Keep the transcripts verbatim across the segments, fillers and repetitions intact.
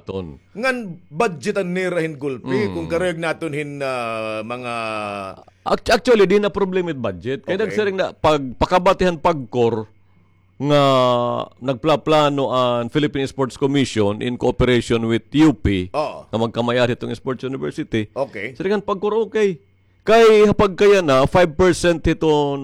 ton. Ngan budgetan nira hin gulpi, hmm, kon karuyag naton hin, ah, mga Act-, actually, di na problema it budget. Kay, okay, nagsiring na, pag pakabatihan PAGCOR, nga nagplaplano an Philippine Sports Commission in cooperation with U P, oo, nga magkamay-ada hiton Sports University. Okay. Siringan PAGCOR, okay. Kay ha pagkayana, five percent hiton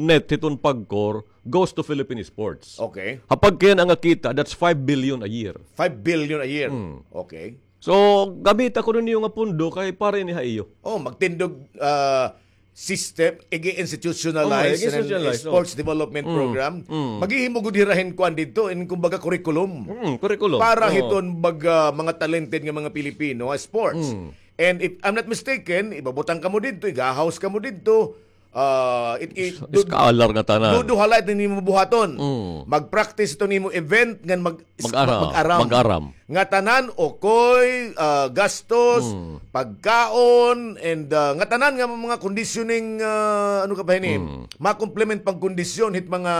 net hiton PAGCOR goes to Philippine sports. Okay. Ha pagkayana nga kita, that's five billion a year. Five billion a year. Hmm. Okay. So, gamita kuno niyo nga pondo kay para ini ha iyo. Oh, magtindog, ah, system, ig-institutionalize, oh, ig-institutionalize, sports development program. Mm. Maghihimo gud hira hin kuan didto, in kumbaga curriculum. Mm, curriculum. Para hiton baga mga talented nga mga Pilipino ha sports. Mm. And if I'm not mistaken, ibabutang kamo didto, iga-house kamo didto, ah, it, it, du-, scholar nga tanan. Duduha la it nimo buhaton. Mm. Mag-practice ito nimo event, ngan mag-, mag-aram. Mag-aram. Mag-aram. Nga tanan, okoy, ah, gastos, mm, pagkaon, and, ah, nga tanan nga mga conditioning, ah, ano ka ba hini? Mm. Ma-complement pagkondisyon hit mga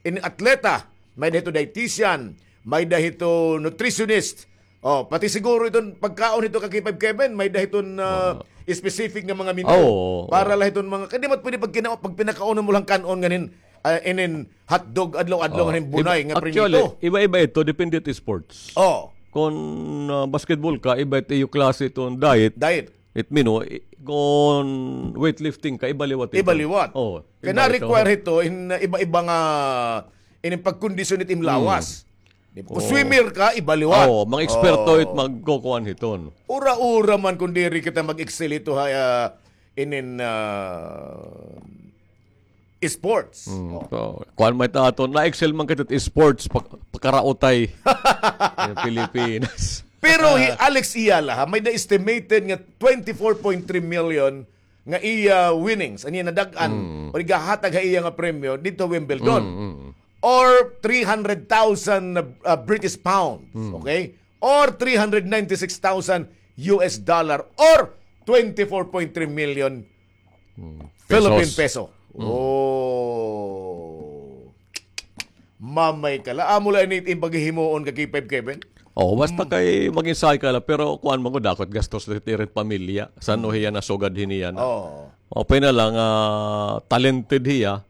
in atleta, may-ada hito dietitian, may-ada hito nutritionist. Oh, pati siguro iton pagkaon hito ka K five Kevin, may-ada hiton, ah, specific nga mga menu. Oo, oo. Para la hiton mga, kay di man pwede pag kina-, pag pinakaunon mo lang kan-on nganin, ah, inin hotdog adlaw-adlaw nganin bunay nga prinito. Actually, iba-iba ito, depende it sports. Oh. Kon, ah, basketball ka, iba it iyo klase iton diet. Diet. It mean, oh, i-, kon weightlifting ka, iba liwat ito. Iba liwat. Oh, kay iba ito. Na-require ito in, ah, iba-iba nga, in pagkondisyon it im lawas. Hmm. Di ba? Kung swimmer ka, iba liwat. Oh, mga eksperto it magkukuan hiton. Ura-ura man kung diri kita mag-excel ito ha, ah, inin, ah, sports. Mm, oh. So, kuan man ito aton, na-excel man kita sports, pag-, pagkaraotay. Yung Pilipinas. Pero hi Alex Eala, ha, may na-estimated nga twenty-four point three million nga iya winnings, an iya nadag-an, mm, o igahatag ha iya nga premyo dito Wimbledon. Mm, mm. Or three hundred thousand, uh, British pounds, mm, okay? Or three hundred ninety-six thousand U S dollar, or twenty-four point three million Hmm. Philippine peso. Hmm. Oh. Mamay ka la. Amo la ini it im paghihimuon ka K five Kevin? Oh, basta kay mag-ensayo ka la, pero kuan man gud, dako it gastos diri it pamilya. San-o hiya nasugad hini yana. Oh. Maupay na la nga, ah, talented hiya.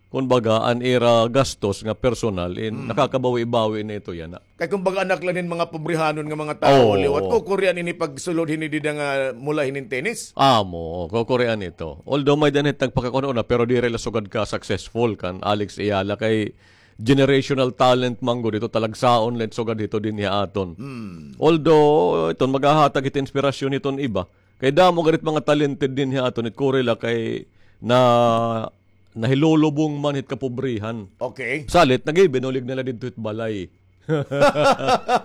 Kumbaga, an ira gastos nga personal, in, nakakabawi-bawi na ito yana. Kay kumbaga anak la hin mga pobrihanon nga mga tawo liwat, kukurian ini pagsulod hini dida nga mula hinin tennis. Amo, kukurian ito. Although may-ada hit nagpakakuan una, pero diri la sugad ka successful kan Alex Eala kay generational talent man gud ito, talagsaon la it sugad hito dinhi ha aton. Hmm. Although, iton maghahatag hit inspirasyon hiton iba. Kay damo gad it mga talented dinhi ha aton, it kuri la kay na nahilulubong man hit kapobrihan. Okay. Salit, naghibinulig na la didto hit balay.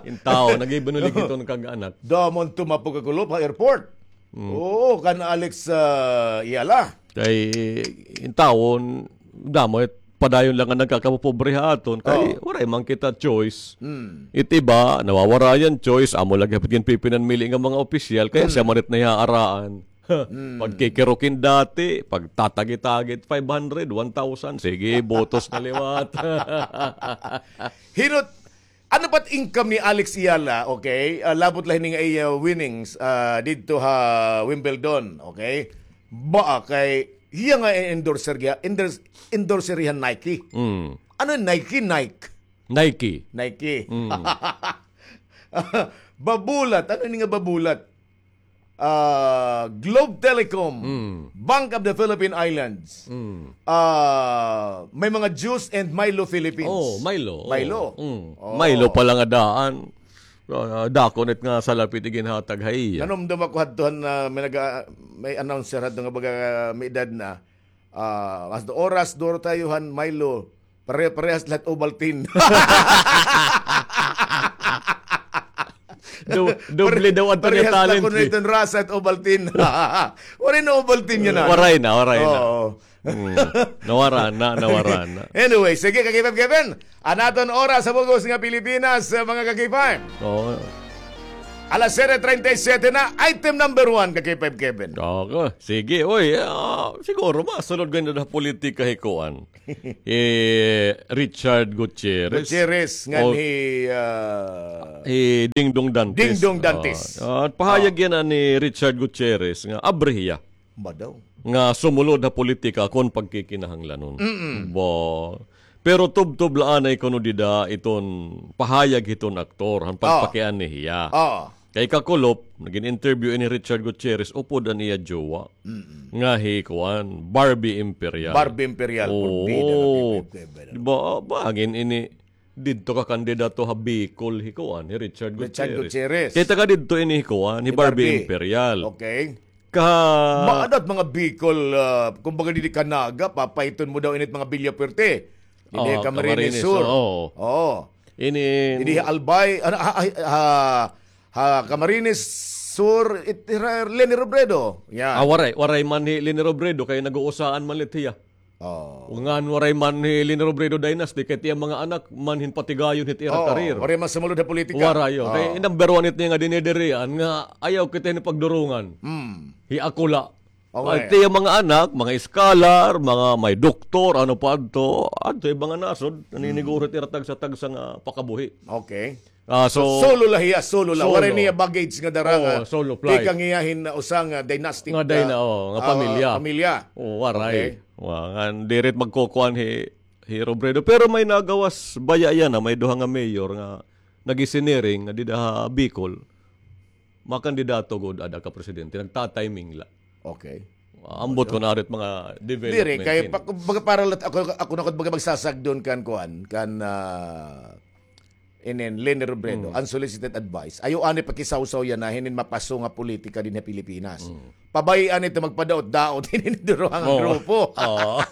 In tawo, naghibinulig hiton kag-anak. Damo an tumapok ha kulop ha airport. Mm. Oo, kan Alex, ah, Eala. Kay, in tawo, damo it padayon la nga nagkakapopobre ha aton. Kay, waray man kita choice. Mm. It iba, nawawara an choice. Amo la gihap it ginpipinanmili nga mga opisyal. Kay, siya man it nahihaaraan. Hmm. Pagkikirukin dati, pagtatagi-tagi, five hundred, one thousand, sige, botos na liwat. Hinot, ano pa it income ni Alex Eala, okay? Ah, labot la hini nga iya winnings, ah, didto ha Wimbledon, okay? Ba, kay, hiya nga endorser, giya, endors-, endorser hiya Nike. Mm. Ano Nike? Nike. Nike. Nike. Mm. Babulat. Ano ini nga Babulat? Ah, Globe Telecom, mm, Bank of the Philippine Islands. Mm. Ah, may mga juice and Milo Philippines. Oh, Milo. Milo. Oh. Mm. Oh. Milo pa la nga daan. Ah, dako na it nga salapit iginhatag ha iya. Nanumdom ako hadto han, ah, may naga-, may announcer hadto nga baga, ah, may edad na. Ah, hasta oras, duro tayo han Milo. Pare-parehas la hit Ovaltine. Do-, doble daw adto niya talent fee. Parehas la kuno iton rasa hit Ovaltine. Waray na Ovaltine yana. Waray na, waray na. Oo. Mm. Nawara na, nawara na. Anyway, sige, ka-K five Kevin. An aton oras ha bug-os nga Pilipinas, ah, mga ka-K five. Oo. Alas siyete treinta y siete na, item number one, ka-K five Kevin. Okay, sige. Uy, ah, siguro, masulod gani ha politika hi kuan. Eh, Richard Gutierrez. Gutierrez, ngan hi, ah, hi Dingdong Dantes. Dingdong Dantes. Ah, ah, pahayag yana ni Richard Gutierrez nga abri hiya. Madaw. Nga sumulod ha politika kon pagkikinahanglanon. Ba. Pero tubtob la anay kuno dida iton pahayag hiton aktor, han pagpakianhi hiya. Oo. Kay kakulop, nagin-interview ini Richard Gutierrez, upod an iya jowa. Nga hi kuan, Barbie Imperial. Barbie Imperial, oo. Di ba, ba, hangin ini, didto ka kandidato ha Bicol, hi kuan, hi Richard Gutierrez. Richard Gutierrez. Kay taga didto ini hi kuan, hi Barbie Imperial. Okay. Ka... Maadat mga Bicol, ah, kumbaga didi ka Naga, papaiton mo daw init mga Villafuerte. Didi ha Camarines Sur. Oo. Ini didi ha Albay, ano, ha, ha, ha, ha Camarines Sur, it, ha Leni Robredo. Yan. Ah, waray, waray man hi Leni Robredo, kay nag-uusaan man lit hiya. Oh. Ngan waray man hi Leni Robredo dynasty, kay it iya mga anak man hin patigayon hit ira career. Waray man sumulod ha politika. Waray, oh. Kay number one it niya nga dinidirian nga ayaw kita hin pagdurungan. Hmm. Hi ako la. Okay. It iya mga anak, mga scholar, mga may doktor, ano pa adto, adto iba nga nasod, naniniguro it ira tagsa-tagsa nga pakabuhi. Okay. Ah, so, so, solo la hiya, solo la. Solo. Waray niya baggage nga dara nga, solo flight. Tikang hiya hin usa nga dynastic nga dyna-, ah, oh, nga ah, pamilya. Pamilya. Oh, waray. Okay. Wa, ngan diri it magkukuan hi, hi Robredo. Pero may nagawas baya yana, may duha nga mayor nga nag-isiniring nga dida ha Bicol. Makandidato gud ada ka presidente, nagta-timing la. Okay. Ambot kon ano it mga development. Diri, kay pa-, kumbaga para lat-, ako, ako na gud baga magsasagdon kan kuan, kan, ah, inin Leni Robredo, unsolicited advice. Ayaw anay pakisawsaw yana hinin mapaso nga politika dinhi ha Pilipinas. Pabay-an ito magpadaot-daot hinin duruhang grupo. Oo.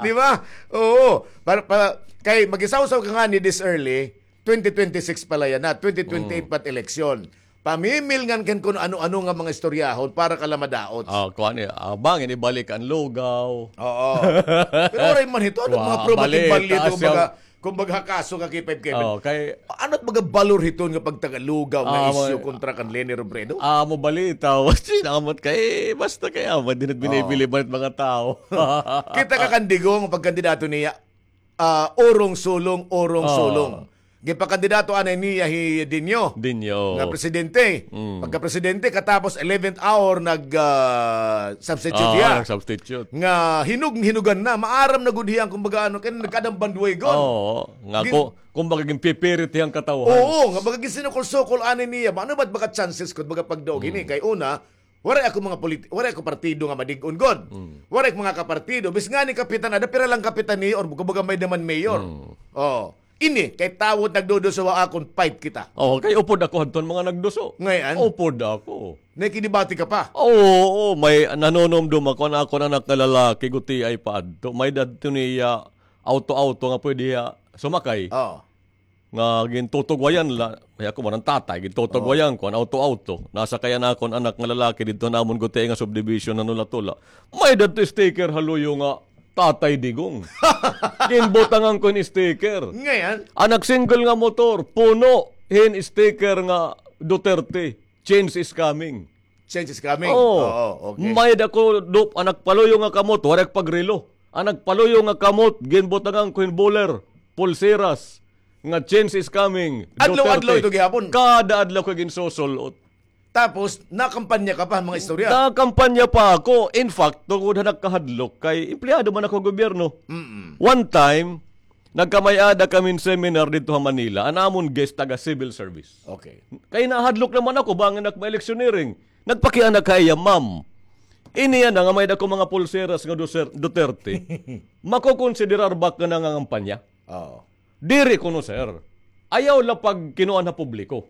Di ba? Oo. Para, para, kay magisawsaw ka ngani this early, twenty twenty-six pa la yana, twenty twenty-eight pa it eleksyon. Pamimilngan kan kun ano-ano nga mga istoryahon para ka la madaot. Ah, kuan, eh, ah, bangin ibalik an lugaw. Oo. Pero waray man hito, ano mga probating balye ito, baga, kumbaga, kaso ka K five K five. Oh, kay ano it baga balor hiton nga pagtagalugaw nga isyu kontra kan Leni Robredo? Ah, amo balita, sinamot kay, basta kay, ah, di na binibili man it mga tao. Kita ka kan Digong, pagkandidato niya, ah, urong sulong, urong sulong. Ginpakandidato anay niya hi Dinho. Dinho. Nga presidente. Pagka presidente, katapos eleventh hour, nag, ah, substitute hiya. Nag-substitute. Nga hinug-, hinugan na. Maaram na gud hiya, kumbaga, ano, kay nagkadang bandwagon. Oo. Nga, kumbaga, ginpipirit hiya an katawhan. Oo, nga baga ginsinukol-sukol anay niya. Ano ba it baga chances ko it baga pagdaog hini? Kay una, waray ako mga politi-, waray ako partido nga madig-on gud. Waray ako mga kapartido. Bis ngani kapitan, ada pira lang kapitan niyo or kumbaga may-ada man mayor. Oh. Ini, kay tawo it nagduduso ha akon, fight kita. Oh, kay upod ako hadton mga nagduso. Ngay-an? Upod ako. Nakidebate ka pa? Oo, oo, may nanunumdom ako, an akon anak nga lalaki, gutiay pa adto. May-ada adto niya auto-auto nga pwede hiya sumakay. Oo. Nga gintutugwayan la, ay ako man an tatay, gintutugwayan ko an auto-auto. Nasakay an akon anak nga lalaki didto ha amon gutiay nga subdivision, nanula-tula. May-ada adto sticker ha luyo nga Tatay Digong. Ginbutangan ko hin sticker. Ngay-an? An nag-single nga motor, puno hin sticker nga Duterte. Change is coming. Change is coming. Oo. Oo, okay. May-ada ko, an nagpaluyo nga kamot, waray pagrelo. An nagpaluyo nga kamot, ginbutangan ko hin bowler, pulseras, nga change is coming. Adlaw-adlaw ito gihapon? Kada adlaw ko ginsusul-ot. Tapos, nakampanya ka pa, mga istorya? Nakampanya pa ako. In fact, tungod ha nagkahadlok, kay empleyado man ako ha gobyerno. One time, nagkamay-ada kami hin seminar didto ha Manila. An amon guest, taga civil service. Okay. Kay nahadlok naman ako, bangin ak ma-electioneering. Nagpakiana ak ha iya, "Ma'am, ini yana nga may-ada ko mga pulseras nga Duser-, Duterte. Makokonsiderar ba ak nga nangangampanya?" Oo. "Diri kuno, sir. Ayaw la pagkinuan ha publiko.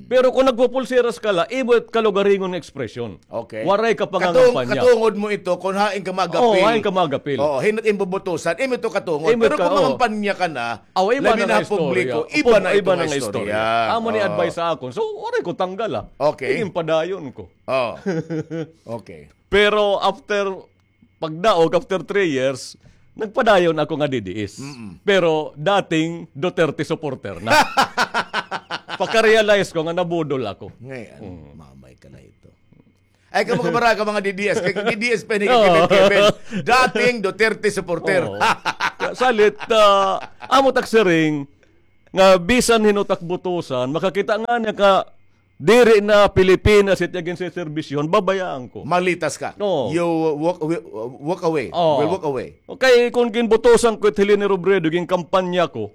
Pero kon nagpupulseras ka la, imo it kalugaringon nga ekspresyon. Okay. Waray ka pangangampanya." Katungod mo ito kon hain ka mag-apil. Oo, hain ka mag-apil. Oo, hin-o it imo bubutusan, imo ito katungod. Pero kon mangampanya ka na, labi na ha publiko, iba na ito nga istorya. Amo ni advice ha akon. So, waray ko tanggal, ah. Okay. Ginpadayon ko. Oh. Okay. Pero after pagdaog, after three years, nagpadayon ako nga D D S. Pero dating Duterte supporter na. Pagka-realize ko nga nabudol ako. Ngay-an, mamay ka na ito. Ay, kamo kabaraka, mga D D S. Kay D D S pa ini, Kevin, Kevin. Dating Duterte supporter. Oo. Salit, ah, amo tak siring, nga bisan hin-o tak butusan, makakita ngani ka diri na Pilipinas it iya ginseserbisyohan, babayaan ko. Malitas ka. Oo. You walk away, walk away. Oo. Will walk away. Okay, kon ginbutusan ko it Helene Robredo, ginkampanya ko,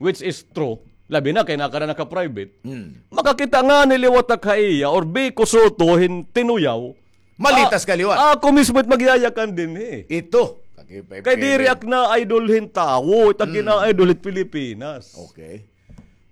which is true, labi na kay nakada naka-private. Hmm. Makakita ngani liwat ak ha iya, or Vico Sotto hin tinuyaw. Malitas ka liwat. Ah, ako mismo it magyayakan dinhi. Ito. Kay diri ak na-idol hin tawo, it ak gina-idol hit Pilipinas. Okay.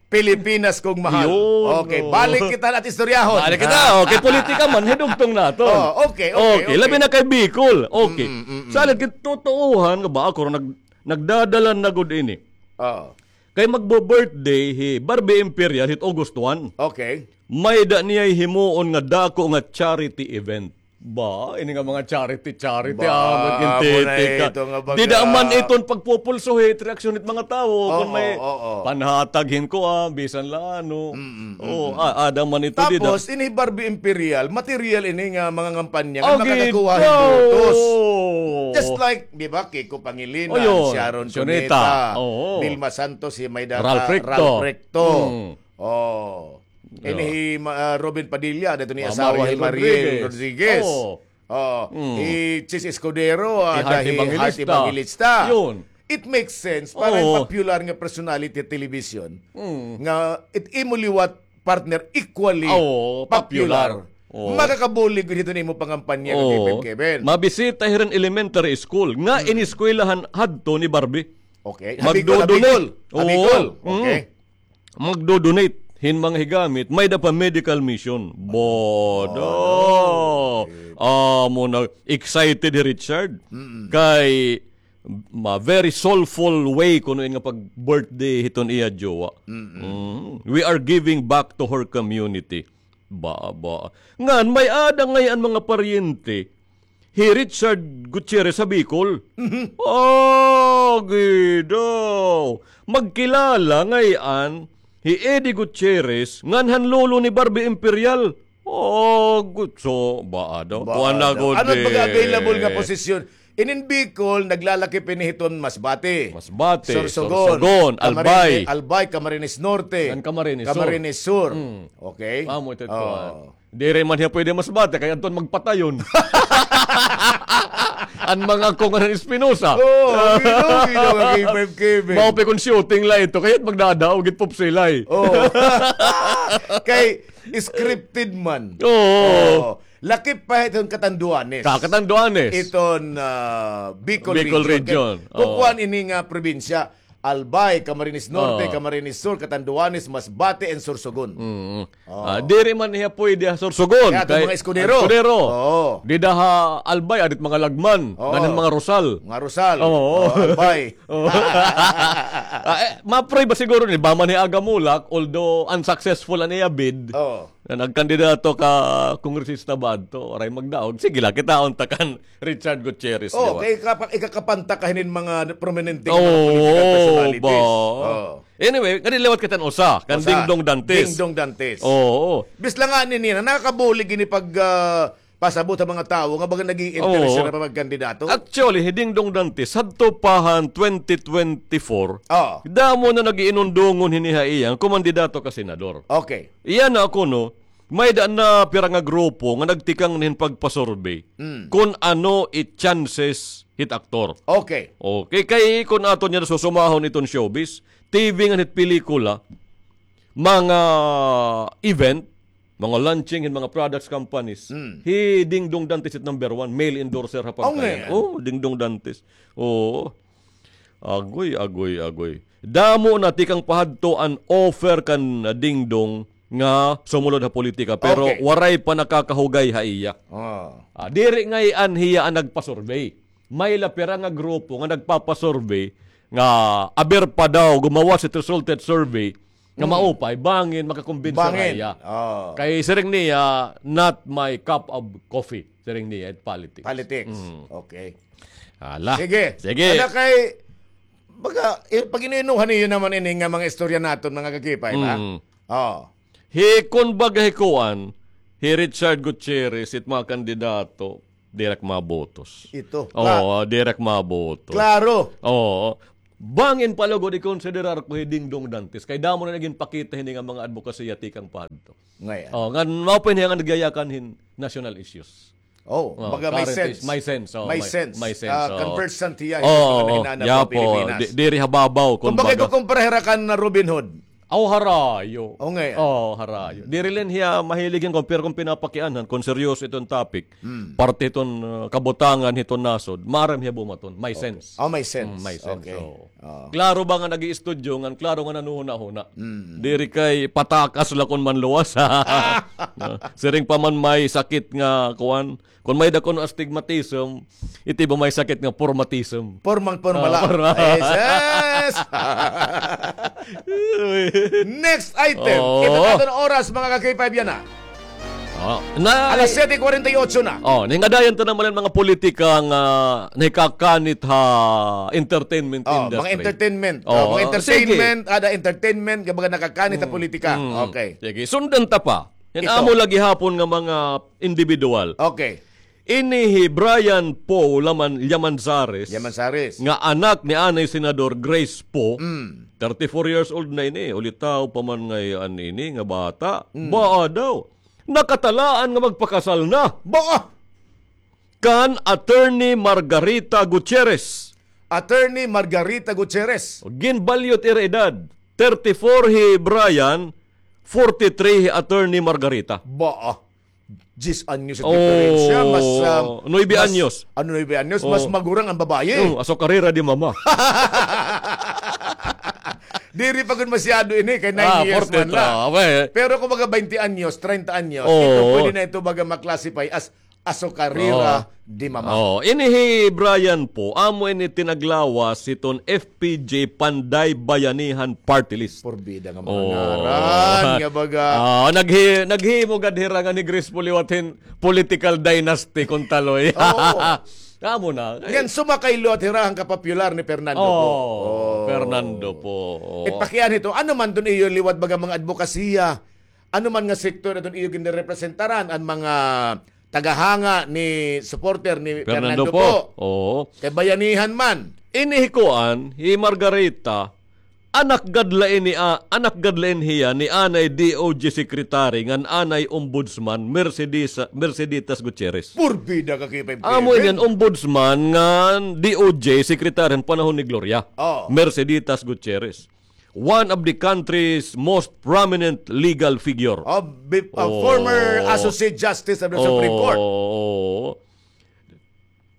Pilipinas kong mahal. Yun, okay, oo. Balik kita na istoryahon. Balik kita. Okay, politika man, hidugtong naton. Oh, okay, okay, okay. Labi na kay Bicol. Okay. Mm, mm, mm. Salit, gintotoohan nga ba, ako ron nag-, nagdadalan na gud ini. Oo. Kay magbo-birthday hi Barbie Imperial hit August one. Okay. May-ada niya himuon nga dako nga charity event. Ba, ini nga mga charity, charity, ba, ah, amo na ito nga baga. Dida man iton pagpupulso hit reaksyon hit mga tawo, oo, kon may, oo, panhatag hin kuan, bisan la ano. Mm, mm, mm, mm. Oo, a-, ada man ito dida. Tapos, ini Barbie Imperial, material ini nga mga ngampanya nga makakakuha hin botos. Just like, di ba, Kiko Pangilinan, si Sharon Cuneta, oo, Vilma Santos, si May Data, Ralph Recto. Ralph Recto. Mm. Oh. Ini hi Ma-, ah, Robin Padilla, dito ni asawa hi Mariel Rodriguez. Oh. Hi Chiz Escudero, ah, hi Heart Evangelista. Yun. It makes sense para popular nga personality television nga it imo liwat partner equally popular. Makakabulig gud hito nimo pangampanya, Kevin, Kevin. Mabisita hiton elementary school nga ineskwelahan hadto ni Barbie. Okay. Ha Bicol, ha Bicol. Ha Bicol. Okay. Magdo-donate hin mga higamit, may-ada pa medical mission. Bodo. Amo na, excited hi Richard. Mm-mm. Kay, ma-, very soulful way kuno ini nga pag-birthday hiton iya jowa. Mm-mm. Mm. We are giving back to her community. Ba, ba. Ngan, may-ada ngay-an mga paryente hi Richard Gutierrez ha Bicol. Mhm. Agi daw. Magkilala ngay-an hi Eddie Gutierrez ngan han lolo ni Barbie Imperial. Agi, so, ba daw. Kuan na gud. Ano baga available nga posisyon? Inin Bicol, naglalakip ini hiton Masbate. Masbate, Sorsogon, Sorsogon, Camarines, Albay. Albay, Camarines Norte. Ngan Camarines Sur. Camarines Sur. Mm. Okay? Amo ito, kuan. Diri man hiya pwede Masbate, kay adton magpatayon. An mga ko nga Espinosa. Oo, gino, gino, nga K five K B. Mao pa kon shooting la ito, kay magdadaog it pop silay. Oo. Kay scripted man. Oo. Oo. Lakip pa hiton Catanduanes. Ka-, Catanduanes. Iton, ah, Bicol Region. Bicol Region. Kay kukuan ini nga probinsya. Albay, Camarines Norte, Camarines Sur, Catanduanes, Masbate, and Sorsogon. Mm. Ah, diri man hiya pwede ha Sorsogon. Kay adto mga Escudero. Escudero. Oo. Dida ha Albay, adit mga Lagman. Oo. Ngan mga Rosal. Mga Rosal. Oo. Oo, Albay. Oo. Ah, eh, ma-pray ba siguro ni, ba man hi Aga Mulak, although unsuccessful an iya bid, oo, na nagkandidato ka kongresista ba adto, waray magdaog. Sige la, kitaon ta kan Richard Gutierrez, oh, di ba? Kay ikapa-, ikakapanta ka hinin mga prominente nga mga political personalities. Oo, ba? Oh. Anyway, kani liwat kita an usa, kan Dingdong Dantes. Dingdong Dantes. Oo. Bis la ngani niya, nakakabulig ini pag, ah, pasabot ha mga tawo nga baga nag-i-interest sila pa magkandidato. Actually, hi Dingdong Dantes, hadto pa han twenty twenty-four, damo na nag-iinundungon hini ha iya nga kumandidato ka senador. Okay. Iya na kuno, may-ada na pira nga grupo nga nagtikang na hin pagpa-survey kon ano it chances hit aktor. Okay. Okay, kay kon aton niya susumahon iton showbiz, T V ngan hit pelikula, mga event, mga launching hin mga products companies, hi Dingdong Dantes it number one, male endorser ha pagkayan. Oh, Dingdong Dantes. Oo. Agoy, agoy, agoy. Damo na tikang pa hadto an offer kan Dingdong nga sumulod ha politika, pero waray pa nakakahugay ha iya. Ah, diri ngay-an hiya an nagpa-survey. May la pira nga grupo nga nagpapa-survey nga aber pa daw gumawas it resulted survey nga maupay, bangin makakumbinsi ra hiya. Kay siring niya, "Not my cup of coffee," siring niya, it politics. Politics. Okay. Hala. Sige. Sige. Ano kay, baga, eh, pag-iniinuhan niyo naman ini nga mga istorya naton, mga kakipay, ba? Oo. Hi, kon baga hi kuan, hi Richard Gutierrez, it mga kandidato, diri ak mabotos. Ito. Oo, diri ak mabotos. Klaro. Oo. Bangin pa lugod ikonsiderar ko hi Dingdong Dantes. Kay damo na nagin pakita hini nga mga adbokasiya tikang pa hadto. Ngay-an. Oh, ngan mao pa ini nga nagyayakan hin national issues. Oh, baga may sense. May sense, oh, may sense. Ah, conversant hiya hin mga nahinana pa Pilipinas. Diri ha babaw, kumbaga. Kumbaga, ikukumpara hira kan Robin Hood. Aw, harayo. Oh, ngay-an. Oh, harayo. Diri la hiya mahilig hin compare kon pinapakianhan, kon seryoso iton topic. Parte hiton, ah, kabutangan hiton nasod, maaram hiya bumaton. May sense. Oh, may sense. Mm, may sense. Okay. Klaro ba nga nag-iistudyo, ngan klaro nga nanuhuna-huna. Diri kay patakas la kon manluwas. Siring pa man may sakit nga kuan, kon may-ada kuno astigmatism, iti ba may sakit nga pormatism. Pormang pormala. Jesus! Next item. Kita naton oras, mga ka-K five, yana. Alas siyete kwarenta y ocho na. Oh, ningadayan ta naman an mga politika nga nahikakanit ha entertainment industry. Mga entertainment. Oh, mga entertainment, ada entertainment, nga mga nakakanit ha politika. Okay. Sige, sundan ta pa. Yan amo la gihapon nga mga individual. Okay. Ini hi Brian Poe Laman-, Llamanzares, Llamanzares, nga anak ni anay Senador Grace Poe, thirty-four years old na ini, ulitaw pa man ngay-an ini nga bata. Baa daw, nakatalaan nga magpakasal na. Baa! Kan Attorney Margarita Gutierrez. Attorney Margarita Gutierrez. Ginbalyot ira edad. Thirty-four hi Brian, forty-three hi Attorney Margarita. Baa. Diyes anyos an diferensya, mas, ah, nuebe anyos. Ano, nuebe anyos? Mas magurang an babaye. Oh, asokarera di mama. Diri pa gud masyado ini, kay nine years man la. Pero kung mga baynte anyos, treinta anyos, ito pwede na ito baga ma-classify as asokarera di mama. Oh, ini hi Brian Poe, amo ini tinaglawas hiton F P J Panday Bayanihan Party List. Purbida nga mga ngaran nga baga. Ah, naghi-, naghimo gad hira nga ni Grace Poe liwat hin political dynasty kon taloy. Oo. Amo na. Ngan sumakay liwat hira han kapopular ni Fernando Poe. Oh, Fernando Poe. Ipakian hito, ano man iton iyo liwat baga mga adbokasiya, ano man nga sektor iton iyo ginrepresentaran, an mga tagahanga ni supporter ni Fernando Poe. Oo. Kay bayanihan man. Ini hi kuan, hi Margarita, anak gad la ini, ah, anak gad la ini hiya ni anay D O J Secretary ngan anay Ombudsman Mercedita, Merceditas Gutierrez. Purbida ka kay Amo ini an Ombudsman ngan D O J Secretary han panahon ni Gloria. Oh. Merceditas Gutierrez. One of the country's most prominent legal figure. Oh, former Associate Justice of the Supreme Court. Oo.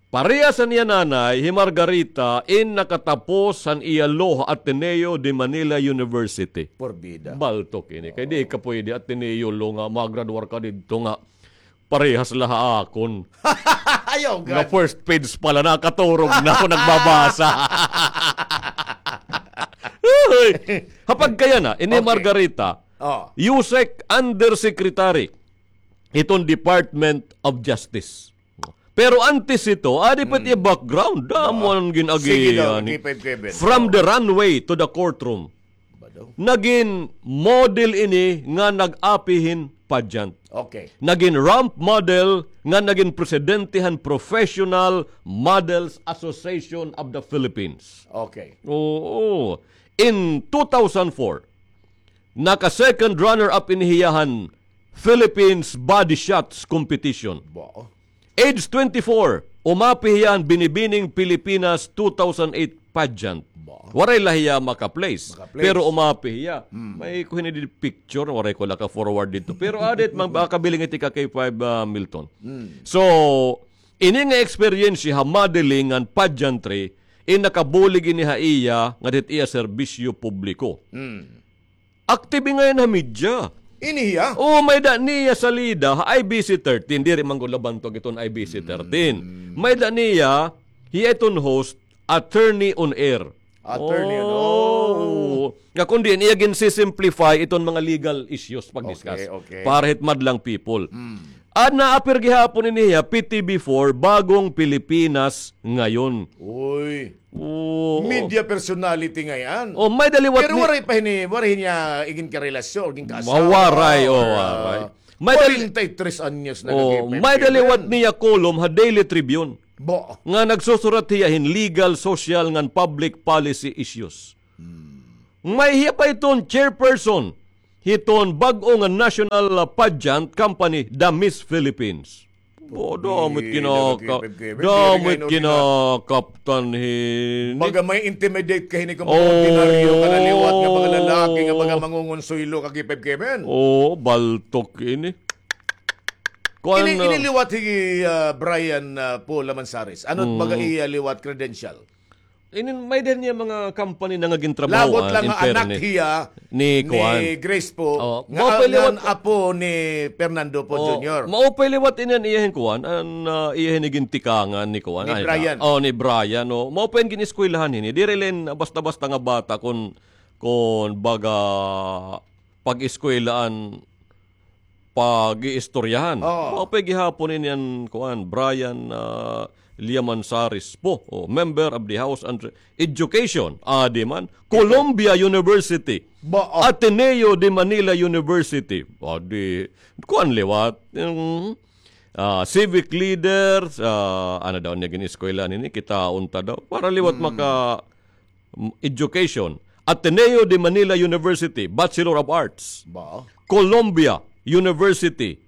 Parehas han iya nanay, hi Margarita, in nakatapos han iya law ha Ateneo de Manila University. Purbida. Baltok ini. Kay di ka pwede Ateneo law nga magradwar ka didto nga parehas la ha akon. Ayaw gad. Nga first page pa la, nakaturog na ako nagbabasa. Uy! Ha pagkayana, ini Margarita, USEC Undersecretary hiton Department of Justice. Pero antes hito, adi pa it iya background, damo an gin-agian. From the runway to the courtroom. Nagin model ini nga nag-api hin pageant. Okay. Nagin ramp model nga nagin presidente han Professional Models Association of the Philippines. Okay. Oo. In two thousand four, naka-second runner-up ini hiya han Philippines Body Shots Competition. Age twenty-four, umapi hiya han Binibining Pilipinas two thousand eight pageant. Waray la hiya maka-place, pero umapi hiya. May ko hini didi picture, waray ko la ka-forward didto. Pero adi it makabiling it ika K five, ah, Milton. So, ini nga eksperyensya ha modeling ngan pageantry, in nakabulig ini ha iya ngadto hit iya serbisyo publiko. Active ngay-an ha media. Ini hiya? Oo, may-ada niya salida ha I B C thirteen. Diri man gud la bantog iton I B C thirteen. May-ada niya, hiya iton host, Attorney on Air. Attorney on Air. Oo. Nga kundi, iya gin-simplify iton mga legal issues pag-discuss. Okay, okay. Para hit madlang people. An naapir gihapon ini hiya, P T V four, Bagong Pilipinas Ngayon. Uy. Oo. Media personality ngay-an. Oh, may-ada liwat. Pero waray pa hini, waray niya igin karelasyon, igin kaasawa. Waray, oh, waray. May dal- Kwarenta y tres anyos na. Oh, kagi may daliwat niya kolom ha Daily Tribune. Ba? Nga nagsusurat hiya hin legal, social, ngan public policy issues. Hmm. May hiya pa iton chairperson hiton bag-o nga national, ah, pageant company, The Miss Philippines. Bo, damo it kinaka-, damo it kinakaptan hini. Baga may intimidate ka hini kon mga ordinaryo nga naliwat nga mga lalaki nga mga mangungonsuelo kagi, Pep Kevin. Oo, baltok ini. Kuan, ini, ah, ini liwat hi, ah, Brian, ah, Paul Lamansares. Ano it baga iya liwat credential? Inin, may-ada niya mga company na nga gintrabahoan, in fairness. Labot la nga anak hiya ni kuan, ni Grace Poe, nga, nga apo ni Fernando Poe Junior. Maupay liwat ini an iya hin kuan, an, ah, iya hin igintikangan ni kuan, ni Brian. Oh, ni Brian, oh. Maupay an gin-eskwelahan hini. Diri la hin basta-basta nga bata kon, kon baga pag-eskwela an pag-iistoryahan. Oo. Maupay gihapon ini an kuan, Brian, ah, Llamansares Poe, oh, member of the House on Education, adi man, Columbia University, Ateneo de Manila University, adi, kuan liwat, mm, ah, civic leaders, ah, ano daw niya gin-eskwela nini, kitaon ta daw, para liwat maka- Mm, education, Ateneo de Manila University, Bachelor of Arts. Ba? Columbia University,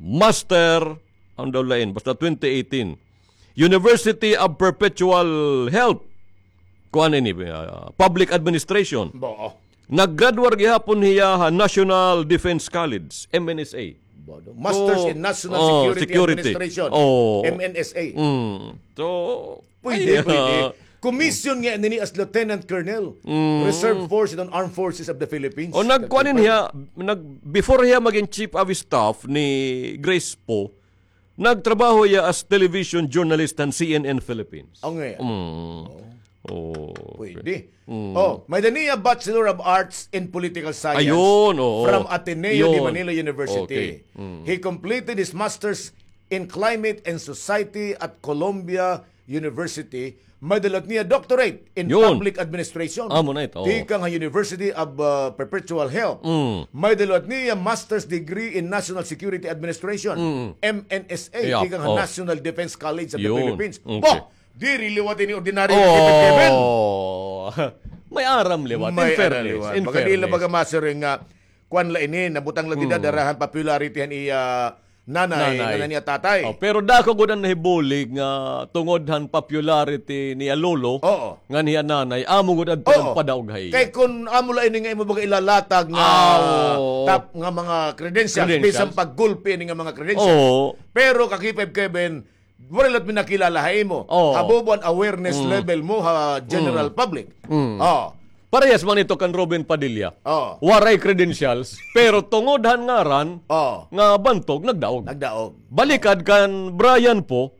Master, ano daw lain, basta twenty eighteen. University of Perpetual Help. Kuan ini, ah, Public Administration. Ba? Naggraduar gihapon hiya ha National Defense College, M N S A. Ba daw? Masters in National Security Administration, M N S A. Mm. So, pwede, pwede. Commission nga nini as Lieutenant Colonel, Reserve Force and Armed Forces of the Philippines. O, nagkuan hiya, nag-, before hiya magin Chief of Staff ni Grace Poe, nagtrabaho hiya as television journalist han C N N Philippines. Ang nga. Mm. Oh. Oh, pwede. Mm. Oh, may-ada niya Bachelor of Arts in Political Science from Ateneo de Manila University. He completed his master's in Climate and Society at Columbia University. May-ada liwat niya doctorate in public administration. Amo na ito. Tikang ha University of, uh, Perpetual Help. Mm. May-ada liwat niya master's degree in National Security Administration, M N S A, tikang ha National Defense College of the Philippines. Okay. Bah! Diri liwat ini ordinaryo nga Kevin. Oh. May aram liwat. In fairness. Baga diri la baga masiring nga kuan la ini, nabutang la dida dara han popularity han iya nanay, nanay, ngan han iya tatay. Oh, pero dako gud an nahibulig nga tungod han popularity niya lolo, ngan hiya nanay, amo gud adto nagpadaog ha iya. Kay kun amo la ini nga imo baga ilalatag nga tap-, nga mga credentials, bisan pa gulpi ini nga mga credentials. Pero kaki Kevin, waray la it pinakilala ha imo. Oh. Habobo an awareness level mo ha general public. Mm. Oh. Parehas man ito kan Robin Padilla. Oh. Waray credentials, pero tungod han ngaran, nga bantog, nagdaog. Nagdaog. Balikad kan Brian Poe,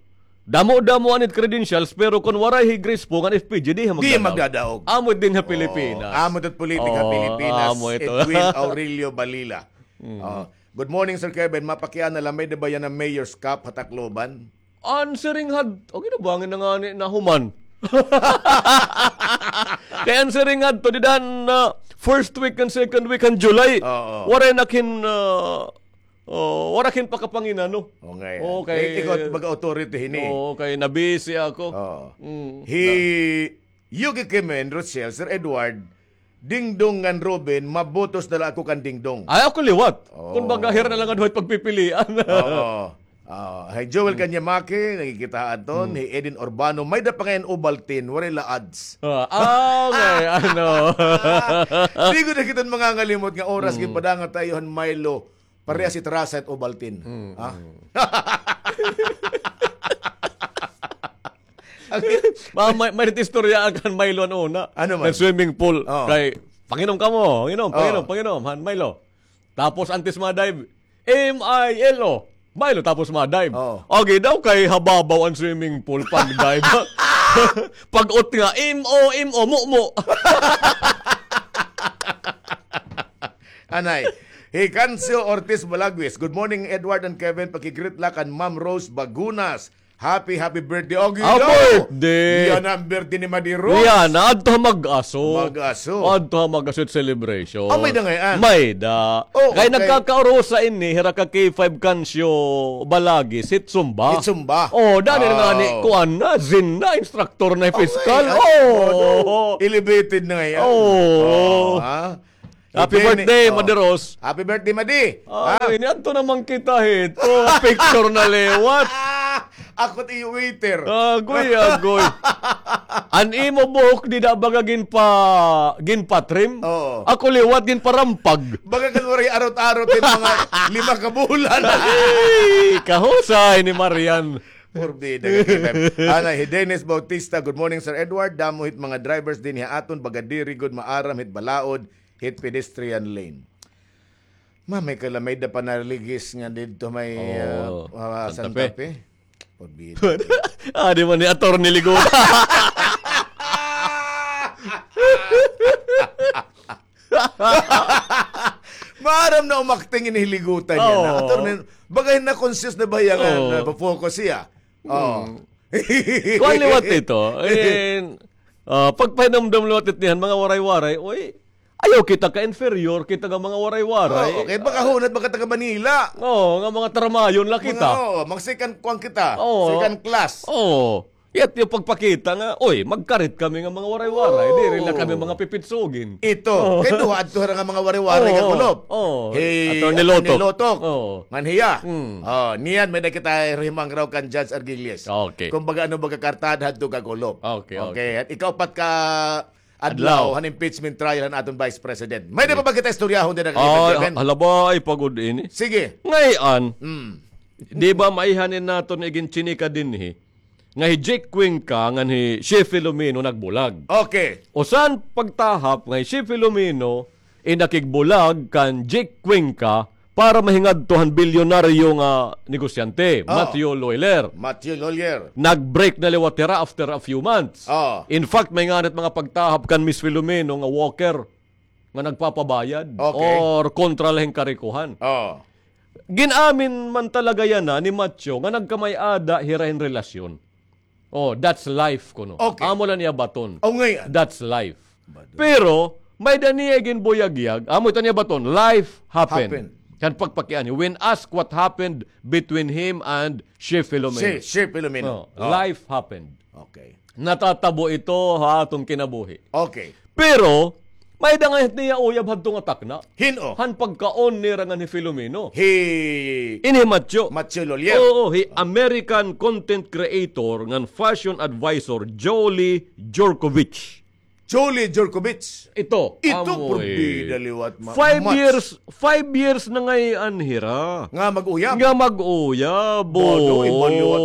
damo-damo an it credentials, pero kon waray hi Grace Poe ngan F P G, diri magdadaog. Diri magdadaog. Amo it dinhi ha Pilipinas. Amo it politik ha Pilipinas. Amo ito. Edwin Aurelio Balila. Mm. Oh. Good morning, Sir Kevin. Mapakiana la, may-ada ba yana Mayor's Cup ha Tacloban? An siring had-, okay na ba, ngani na ngani nahuman. Kay an siring hadto, dida han, ah, first week and second week han July. Oo. Waray na kin, ah, oh, waray kin pakapanginano. Okay. Okay. Kay ikaw, baga authority hini. Oo, kay nabisi ako. Oo. Mm. Hi Yuki Kimen, Rochelle, Sir Edward, Dingdong ngan Robin, mabotos na la ako kan Dingdong. Ay, ako liwat. Oh. Kun baga, hira na la ngada it pagpipilian. Oo. Ah, hi Joel Kanyamaki, nakikita aton, hi Eden Urbano, may-ada pa ngay-an Ovaltine, waray la ads. Ah, ah, okay, ano. Di gud na kita mangangalimot nga oras, gipadanga ta iyo han Milo. Parehas it rasa it Ovaltine. Mm, ha? Mm. Ma-, may, may istorya kan Milo an una. Ano man? Nag-swimming pool. Oo. Kay, "Panginom kamo, panginom, panginom, panginom, han Milo." Tapos, antes ma-dive, "M I L O." Milo, tapos ma-dive. Oo. Agi daw kay hababaw an swimming pool pag-dive. Pag-ut nga, "M O, M O, mo, mo." Anay. Hi Cancio Ortiz Balagues. "Good morning, Edward and Kevin. Paki-greet la kan Ma'am Rose Bagunas. Happy, happy birthday. O, ginaw. Birthday. Yana an birthday ni Madi Rose. Yana, adto ha Mag-aso. Mag-aso. Adto ha Mag-aso it celebration. Ah, may-da ngay-an? May-da. Oh, kay okay. Nagkakaurusa ini, hira ka K five Kancio Balagis, hit Zumba. Hit Zumba. Oh, dani na ngani, kuan na, Zin na, instructor na, piskal. Ay, ay, oh. Elevated na ngay-an. Oh. Oh, ha? Happy birthday, Madi Rose. Happy birthday, Madi. Ay, niadto naman kita hito. Picture na liwat. Ako it iyo waiter. Agoy, agoy. An imo buhok dida baga ginpa-, ginpa-trim? Oo. Ako liwat ginparampag. Baga kan waray arot-arot hin mga lima ka bulan. Ay, kahusay ni Marian. Porbida. Ana, hi Dennis Bautista, "Good morning, Sir Edward. Damo hit mga drivers dinhi ha aton, baga diri gud maaram hit balaod hit pedestrian lane." Ma, may kalamay da panaligis nga didto may, ah, ah, Santa Fe. Porbida. Ah, di man ni Attorney Ligo. Maaram na umakting ini hi Liguta niya na. Oo. Attorney, baga na-conscious na ba hiya nga na-focus hiya? Oo. Kuan liwat ito. And, ah, pagpahinumdom liwat ito niyan, mga Waray-Waray, uy, ayaw kita ka-inferior, kita nga mga Waray-Waray. Oo, kay baka hunat, baka taga Manila. Oo, nga mga taramayon la kita. Mga, oo, mga second kuan kita. Oo. Second class. Oo. Yat yung pagpakita nga, "Oy, magkarit kami nga mga Waray-Waray, diri la kami mga pipitsugin." Ito, kay duha adto hira nga mga Waray-Waray nga kulop. Oo. Hi Attorney Lotok. Oo. Ngan hiya. Hmm. Oh, niyan, may-da kita himangraw kan Judge Argilies. Okay. Kumbaga, ano baga kartada hadto ka kulop. Okay, okay. At ikaupat ka adlaw, han impeachment trial han aton Vice President. May-da pa ba kita istoryahon dida, Kevin? Halabay pa gud ini. Sige. Ngay-an, di ba maihanin naton iginchinika dinhi? Nga hi Jake Cuenca ngan hi Che Filomeno nagbulag. Okay. Usa han pagtahap nga hi Che Filomeno in nakigbulag kan Jake Cuenca para mahingadto han bilyonaryo nga negosyante, Matthew Lawler. Matthew Lawler. Nag-break na liwat hira after a few months. In fact, may ngani it mga pagtahap kan Miss Filomeno nga walker nga nagpapabayad or kontra la hin karikohan. Gin-amin man talaga yana ni Matthew nga nagkamay-ada hira hin relasyon. Oh, that's life kuno. Okay. Amo la niya baton. Oh, ngay-an. That's life. Pero, may-da niya ginbuyagyag, amo ito niya baton, life happened. Kan pagpakianhi, when asked what happened between him and Che Filomeno. Che, Che Filomeno. Oh, life happened. Okay. Natatabo ito ha aton kinabuhi. Okay. Pero, may-da ngay-an niya uyab hadto nga takna. Hin-o? Han pagkaon nira ngan hi Filomeno. Hi Ini hi Matthew. Matthew Lawler. Oo, hi American content creator ngan fashion advisor Jolie Jurkovich. Jolie Jurkovich. Ito, ito, porbida liwat, ma-, five years, five years na ngay-an hira. Nga mag-uyab? Nga mag-uyab, oo. Bado, iba liwat.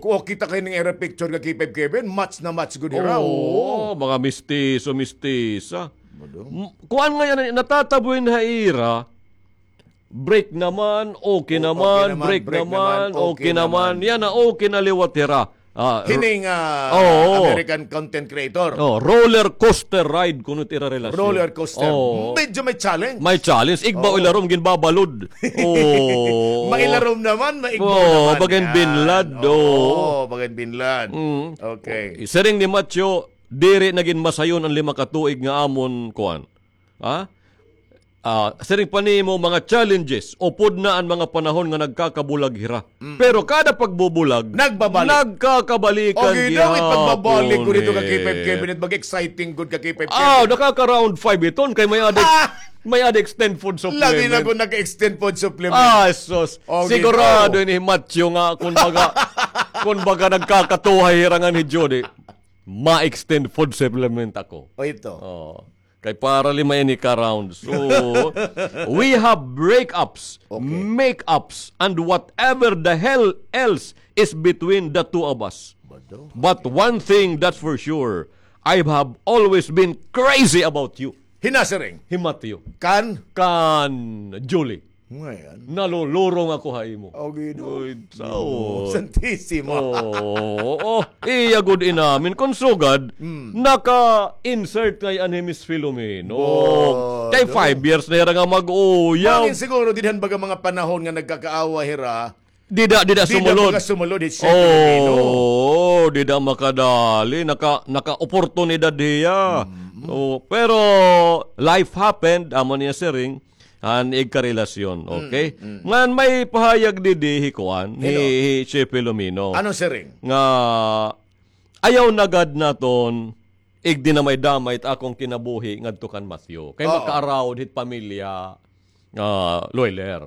Kung kita kay ning ira picture nga K five Kevin, match na match gud hira, oo. Mga mistiso, mistisa. Kuan nga yana, natatabo ini ha ira, break naman, okay naman, break naman, okay naman. Yana, okay na liwat hira. Hining, ah, American content creator. Oh, roller coaster ride kuno it ira relasyon. Roller coaster. Medyo may challenge. May challenge. Igbaw ilarom, ginbabalod. Oh. Mailarom naman, maigbaw naman. Bagan binlad. Oh, bagan binlad. Okay. Siring ni Matthew, diri na gin masayon an lima ka tuig nga amon kuan. Ha? Ah, siring pa nimo, mga challenges, upod na an mga panahon nga nagkakabulag hira. Pero kada pagbubulag, nagkakabalikan gihapon. Pagbabalik ko dito ka K five Kevin, mag-exciting gud ka K five Kevin. Ah, nakaka-round five iton, kay may-ada, may-ada extended food supplement. Labi na kung naka-extended food supplement. Ah, sus. Sigurado ini hi Matthew nga, kung baga, kung baga nagkakatuhay hira ngan hi Judy, ma-extended food supplement ako. O, ito. Oh. Kay para lima ini ka round. So, we have breakups, makeups, and whatever the hell else is between the two of us. But one thing that's for sure, I have always been crazy about you. Hin-o nasiring? Hi Matthew. Kan? Kan Julie. Nalulurong ako ha imo. O, Ginoo. Uy, sao. Santisimo. Oo, iya gud inamin. Kon sugad, naka-insert ngay-an hi Miss Filomeno. Kay five years na hira nga mag-uyab. Mangin siguro, didto han baga mga panahon nga nagkakaawa hira, Dida, dida sumulod. Dida sumulod, it's Filipino. Oo, dida makadali, naka, naka-oportunidad hiya. Oo, pero life happened, amo niya siring, han igkarelasyon, okay? Ngan may pahayag didi hi kuan, hi, hi Che Filomeno. Ano siring? Nga, ayaw na gad naton igdinamay-damay it akon kinabuhi ngadto kan Matthew. Kay makaaraw hit pamilya, ah, Loiler.